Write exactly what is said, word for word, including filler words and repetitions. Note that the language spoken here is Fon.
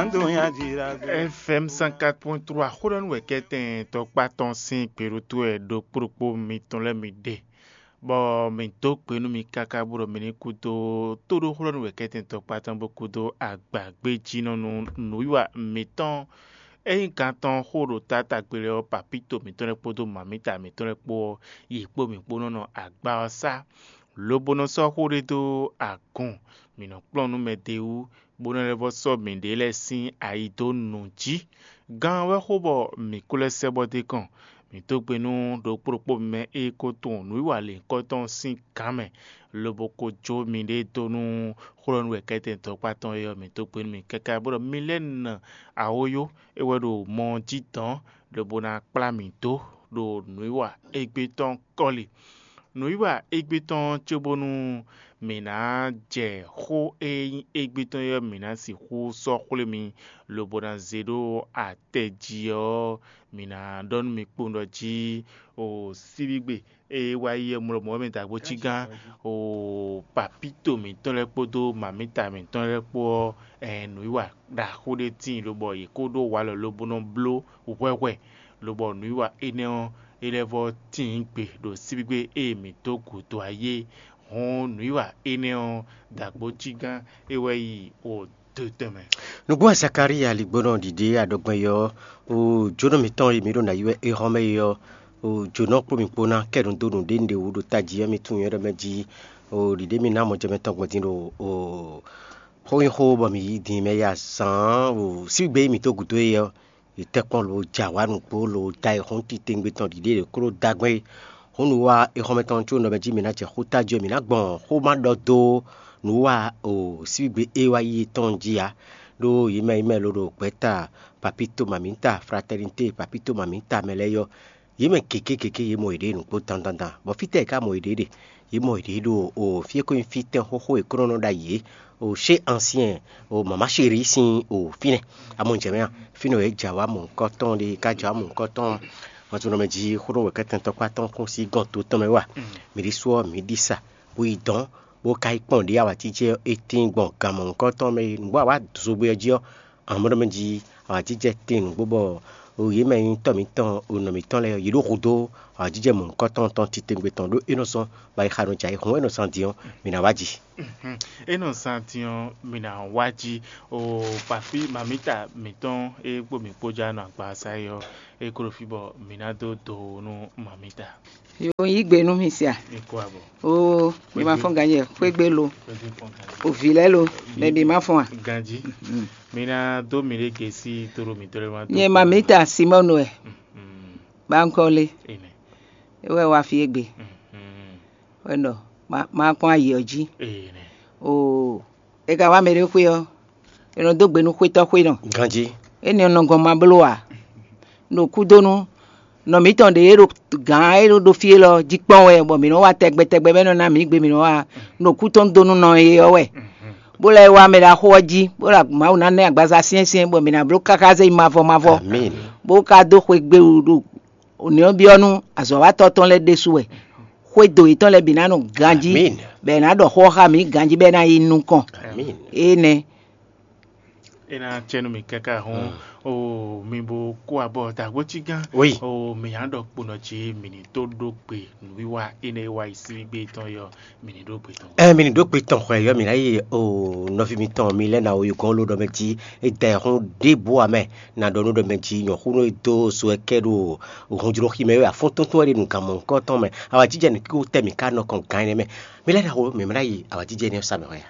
F M cent quatre point trois xó ɖɔ nú wɛ kɛtɛn tɔkpá tɔn sín gběɖótó wɛ ɖokpó ɖokpó mitɔn lɛ́ɛ mi ɖe, bɔ mǐ dó gbe nú mi káká bó ɖɔ mi ní kúdó tóɖó xó ɖɔ nú wɛ kɛtɛn tɔkpá tɔn bó kúdó agbǎgbéjínɔ́ nú nǔwiwa mǐtɔn. Ényí gan tɔn xó ɖo taátagbe lɛ́ɛ ɔ́, papíto mǐtɔn lɛ́ɛ kpódó mamǐta mǐtɔn lɛ́ɛ kpó ɔ́, yě kpó mǐ kpó nɔ́ nɔ agba ɔ́ sá, lobo nɔ sɔ́ xó ɖé dó agun, mǐ nɔ kplɔ́n nú mɛ d'é wú, bó nɔ́ lɛ́ vɔ́ sɔ́ mǐɖée lɛ́ɛ sín ayi dó nǔ jí. Gán ɔ́ wɛ xo bɔ mǐ ko lɛ́ sɛ́ bɔ d'é kɔn. Mǐ dó gbe nú ɖokpó ɖokpó mɛ e ko tunwun nǔwiwa lěhunkɔtɔn sín gǎn mɛ, lobo ko jó miɖée dó nú xó ɖɔ nú wɛ kɛ́tɛn dɔkpá tɔn é ɔ́, mǐ dó gbe nú mi káká bó ɖɔ mi lɛ́ nɔ awóyó é wɛ ɖo mɔ ɔ́ jí dɔ̌n, lobo ná kplá mǐ dó ɖo nǔwiwa égbé tɔn kɔ́li. Nǔwiwa égbé tɔn cóbónú mǐ ná jɛ xó e nyí égbé tɔn é ɔ́, mǐ ná sixú sɔ́ xwlé mi, lobo ná zé ɖó atɛ jí ɔ́, mǐ ná ɖɔ nú mi kpowun ɖɔ jí o síbígbe e wá yi ɔ́ mlɔmɔ̌ wɛ mɛ dǎgbó cí gán o papíto mǐtɔn lɛ́ɛ kpódó mamíta mǐtɔn lɛ́ɛ kpó ɔ́, nǔwiwa ɖaxó ɖé tíin lobɔ yě kó ɖó walɔ lobo nɔ bló hwɛhwɛ, lobɔ nǔwiwa énɛ́ ɔ́, é lɛ́ vɔ́ tíin gbe ɖo síbígbe e mǐ dó gǔdo ayé. Hɔn nǔwiwa énɛ́ ɔ́, dǎgbó cí gán é wɛ yi o do tɛnmɛ. Nǔgbó Zakalíya ligbónɔ ɖiɖe aɖɔgbɛ́n yɔ ɔ́, o jónɔ mǐtɔn e mǐ ɖo nǎ yi wɛ é hɔn mɛ é ɔ́, o jónɔ kpó mǐ kpó ná kɛ nǔ dó nǔɖé un ɖe wǔ ɖo tají ɔ́ mì tunwun nyɛ ɖɔ mɛ jí, o ɖiɖe mì ná mɔjɛmɛ tɔn gbɔn din ɖo o xó nyí xó bɔ mǐ yi din mɛ ya zǎn o síbígbe e mǐ dó gǔdo é ɔ́, yě tɛ́ kpɔ́n lo ja wǎ nǔgbó lo da e hɔn titewungbe tɔn ɖiɖe ɖě klo da gbɛn é. Hǔn nǔ wa exɔmɛ tɔn có nɔ mɛ jí mǐ ná jɛ xó tají ɔ́, mǐ ná gbɔn xó ma ɖɔ dó nǔ wa o síbígbe e wá yi tɔn jí ǎ. Ɖó yě mɛ yi mɛ lo ɖo gbɛ̌ta papito mamǐta, fraternité papito mamǐta mɛ lɛ́ɛ yɔ, yě mɛ gěgé gěgé yě mɔ yěɖée nǔgbó dandandan, bɔ fítɛ́ yě ká mɔ yěɖée ɖe? Yě mɔ yěɖée ɖo o fí e ko nyí fítɛ́n xóxó e kúnɔ nɔ ɖ'ayǐ é, o chez ancien, o mama chéri sín o fínɛ́. Amɔ jɛ mɛ a, fínɛ́ wɛ é jɛ awǎ mɔ̌hunkɔtɔn ɖé, é ka jɛ awǎ mɔ̌hunkɔtɔn. Hɔn to nɔ mɛ jí xó ɖɔ wɛ kɛ́tɛn tɔkpá tɔn kún sí gɔn to tɔn mɛ wɛ a? Mǐ ɖésú ɔ́, mǐ ɖi sa bó yi dɔ̌n, bó ka yi kpɔ́n ɖě awǎjijɛ ɔ́, é tíin gbɔn gan mɔ̌hunkɔtɔn mɛ é. Nǔgbó awǎ zogbé ɔ́ jí ɔ́, amɔ̌ ɖɔ mɛ jí awǎjijɛ tíin nǔgbó bɔ o yě mɛ nyí tɔ́ mǐtɔn, o nɔ mǐtɔn lɛ́ɛ ɔ́, yě ɖo hudó awǎjijɛ mɔ̌hunkɔtɔn tɔn titewungbe tɔn ɖó é nɔ zɔ́n bɔ ayixa nɔ jɛ ayihún wɛ é nɔ zán din ɔ́, mǐ ná wá ji. É nɔ zán din ɔ́, mǐ ná wá jí. O papi mamita mǐtɔn e kpó mǐ kpó já nɔ agbaza é ɔ́, é kó ɖo fí bɔ mǐ ná dó do nú mamita. Yo yí gbe nú mi sia. Ní kó abɔ. Oo, mi ma fɔn ganye xwégbe lo. Xwégbe fɔn ganye. O vǐ lɛ́ɛ lo, mɛ bǐ ma fɔn a? Ganjí. Mi ná dó mi ɖé gesi tóɖó mi tóɖó ma dó. Nyɛ mamita Simɔnu wɛ. Bankɔle. Ene. Ewɛ wa fi egbe. Wɛ nɔ ma ma kpɔn ayi ɔ jí. Ene. Oo, e ka wá mɛ ɖé xwé ɔ́, e nɔ dó gbe nú xwétɔ́ xwé nɔ. Ganjí. Énɛ́ nɔ gɔn ma bló ǎ. Ɖo kúdónú nɔ mǐtɔn ɖě e ɖo gǎn e ɖo ɖo fí élɔ́ jí kpɔ́n wɛ, bɔ mǐ nɔ wá tɛgbɛ tɛgbɛ bɔ é nɔ ná mǐ gbe mǐ nɔ wá ɖo kú tɔn dó nú nɔ e ɔ́ wɛ, bó lɛ́ wá mɛ ɖaxó ɔ́ jí, bó ɖo Mawu ná nɛ́ agbaza syɛ́nsyɛ́n, bɔ mǐ ná bló káká zé yi mavɔ mavɔ, Amín. Bó ka dó xwe gbewú ɖo nɛ̌ ɔ́ byɔ́ nú azɔ̌watɔ́ tɔn lɛ́ɛ ɖésú wɛ. Xwédo yětɔn lɛ́ɛ bǐ ná nɔ ganjí, Amín. Bɔ è nǎ ɖɔ xó ɔ́ xá mǐ ganjí, bɔ é ná yi nukɔn. Amín. Énɛ́. É ná cɛ nú mì káká hɔn. O mi bo kó abɔ dàgbó cí gán. Oui. O mi yàn ɖɔ kponɔ jí mi ní tó ɖó gbe nǔwiwa énɛ́ e wá yi síbígbe tɔn yɔ mi ní ɖó gbe tɔn. Ɛ mi ní ɖó gbe tɔn xwɛ yɔ mi ná yi o nɔví mitɔn mi lɛ na o yukɔn lo ɖɔ mɛ jí e da ɛhún ɖěbǔ amɛ na ɖɔ nú ɖɔ mɛ jí nyɔ̌xúnú e dó so ɛ kɛ ɖo hunjlóxi mɛ wɛ afɔ́n tɔntɔn wɛ ɖe nu gan mɔ̌hunkɔtɔn mɛ. Awa jijɛ ní kó tɛ mǐ ká nɔ kɔn gan énɛ́ mɛ. Mi lɛ na o mi mlá yi awa jijɛ énɛ́ sa mɛ hɔn ya.